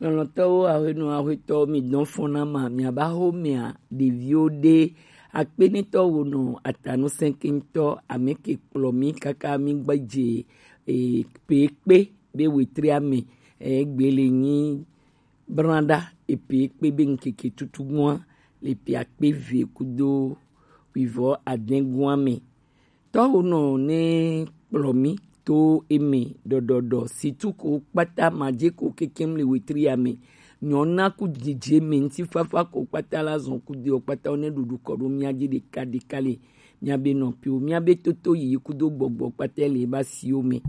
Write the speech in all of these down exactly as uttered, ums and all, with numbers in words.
Lɔlɔ̃tɔwo, ahwenɔ, ahwetɔwo, mi dɔn fɔn na ma, mi aba ho mia ɖeviwo ɖe. Akpenetɔ wo nɔ atanu sɛnkentɔ, ame ke kplɔ mi kaka mi gbadze, e, pe kpe be wetri ame, e, gbe le nyi branda, e, pe kpe be ŋkeke tutu mua, le pe akpe ve kudo wivɔ adɛn gua me. Tɔwo nɔ ne kplɔ mi to eme ɖɔɖɔɖɔ, situ ko kpata madze ko kekem le wetri ya me. Nyɔna ku dzidze me ŋutifafa ko kpata la zɔn kudo kpata wo ne ɖuɖu kɔ ɖo mia dzi ɖeka ɖeka le. Mia be nɔpiwo, mia be toto yiyi kudo gbɔgbɔ kpata le ba siwo me.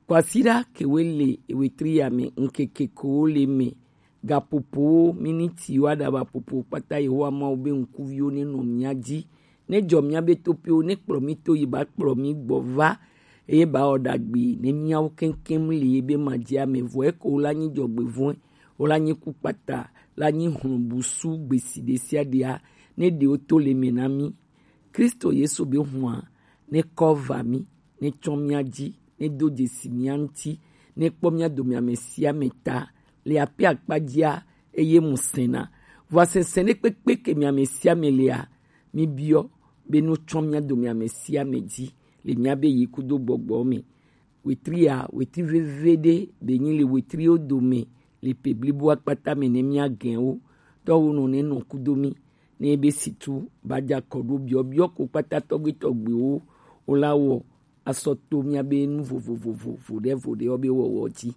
Kwasiɖa kewe le wetri ya me, ŋkeke ko le me. Gapopowo, minitiwo, aɖaba popo kpata Yehowa Mawu be ŋkuviwo ne nɔ mia dzi, ne jɔ mia be topiwo, ne kplɔ mi to yi ba kplɔ mi gbɔ va, eye ba wɔ ɖagbe ne miawo keŋkeŋ li ye be ma dzi ame vɔ eko la nyi dzɔgbevɔ̃e, wo la nyi ku kpata, la nyi hlɔbusu gbesi ɖe sia ɖea, ne ɖewo to le me na mi. Kristo Yesu be hua ne kɔ va mi, ne tsɔ mia dzi, ne do dzesi mia ŋuti, ne kpɔ mia dome ame sia ame ta, le ape akpa dzia, eye mu sena. Vɔa sɛnsɛn ɖe kpekpe ke mia ame sia ame lea, mi biɔ be no tsɔ mia dome ame sia ame dzi, le mia be yi kudo gbɔgbɔ me. Wetri ya, wetri veve ɖe be nyi le wetriwo dome, le pe blibo akpata me ne mia gɛn wo. Tɔwo nɔ ne nɔ kudo mi, ne be situ ba dza kɔ ɖo biɔ biɔ ko kpata tɔgbe tɔgbewo, wo la wɔ asɔ to mia be nu vovovovo ɖe vo ɖe wo be wɔwɔ dzi.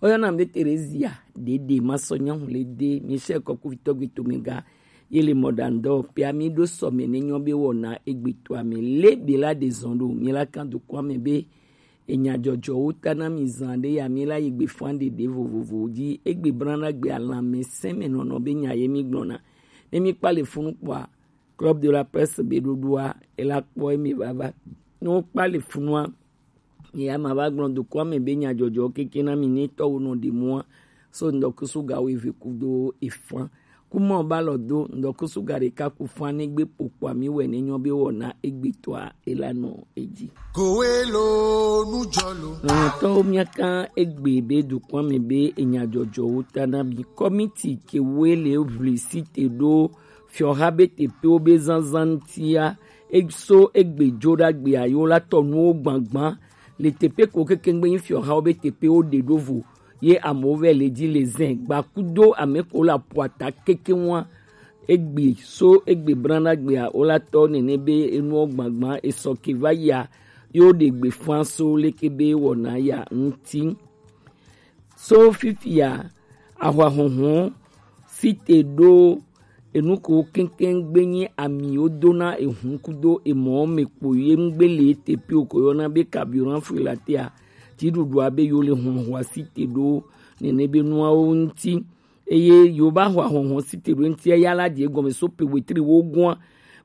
Oyɔna be Terezia ɖeɖe ma sɔ nyahu le de Michel kɔkuvitɔ gbe to me ga ye le mɔɖaŋdɔ pe ami ɖo sɔ me ne nyɔ be wɔna egbe to ame le be la ɖe zɔn ɖo mi la kan do kɔ ame be enya dzɔdzɔwo ta na mi zan ɖe ya mi la yi gbe fan ɖeɖe vovovowo dzi egbe brana gbe alame sɛmɛ nɔnɔ be nya ye mi gblɔna ne mi kpa le funu kpɔa Club de la Presse be ɖoɖoa, ela kpɔ eme vava. Ne wokpa le funua, ya ma va gblɔ dukɔa me be nyadzɔdzɔ keke na mi ne tɔwo nɔ ɖe mua. So ŋdɔkusu ga wo eve kudo efan. Kuma ba lɔ do ŋdɔkusu ga ɖeka ku fan ne gbe kpokpoa mi wɛ ne nyɔ be wɔna egbe tɔa ela nɔ edzi. Kowe lo nu jɔ lo. Lɔlɔ̃tɔwo, míaka egbe be dukɔa me be enyadzɔdzɔwo ta na mi. Kɔmiti ke woe le ʋli site ɖo fiɔha be teƒewo be zazã ŋutia, eso egbe dzo ɖa gbea yewo la tɔ nuwo gbagba le teƒe ko keke ŋgbe nyi fiɔhawo be teƒewo ɖe ɖo vo ye amewo vɛ le dzi le zɛ gbakudo ame ko le aƒua ta keke ŋua. Egbe so egbe brana gbea wo la tɔ nene be enuwo gbagba esɔ ke va yia yo ɖe gbe fã so leke be wɔna ya ŋuti. So fifia ahwa hɔhɔ site ɖo enu ko keŋkeŋ gbe nyi ami wo dona ehun kudo emɔ me kpo ye ŋgbe le teƒe o ko yɔna be carburant freelater a dziɖuɖua be yo le hɔhɔa site ɖo nene be nuawo ŋuti. Eye yo ba hɔ ahɔhɔ site ɖo ŋuti ya la dze gɔme so pe wetri wo gɔa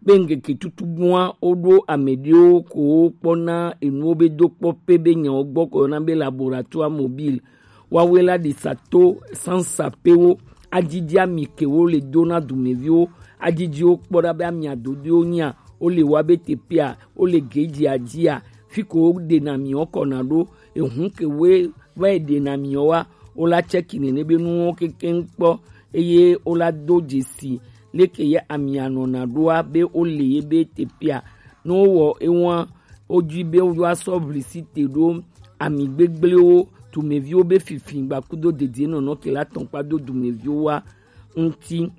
be ŋgeke tutu gɔa wo ɖo ame ɖewo ko wo kpɔna enuwo be do kpɔ pe be nyawo gbɔ ko yɔna be laboratoire mobile. Woawoe la ɖi sato sansapewo, adidi ami ke wo le do na dumeviwo, adidi wo kpɔ ɖa be amia dodoewo nyia, wo le wa be teƒea, wo le gedzia dzia, fi ko wo ɖena miwo kɔna ɖo, ehun ke woe va yi ɖena miwo wa, wo la tsɛki nene be nuwo kekeŋ kpɔ, eye wo la do dzesi leke ye amia nɔna ɖoa be wo le ye be teƒea. Ne wo wɔ ewa, wo dzi be wo asɔ ʋli site ɖo ami gbegblẽwo, dumeviwo be fifi gbakudo dedienɔnɔ ke la tɔn kpa do dumeviwo wa ŋuti.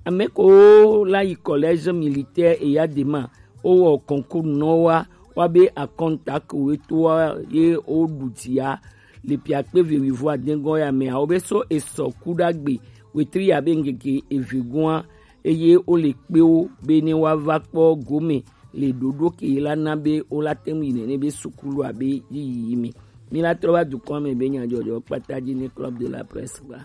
Ame ko la yi collège militaire Eyadema, wo wɔ concours nɔ wa, wa be akɔnta ko we to wa ye wo ɖu dzi ya le piakpe ve wivo adengɔ ya me awo be so esɔ ku ɖagbe wetri ya be ŋgege eve gɔa eye wo le kpe wo be ne wa va kpɔ gome le ɖoɖo ke la na be wo la te ŋu yi nene be sukulu abe yiyi me. Mi la trɔ va dukɔ me be nyadzɔdzɔ kpata dzi ne club de la presse gba.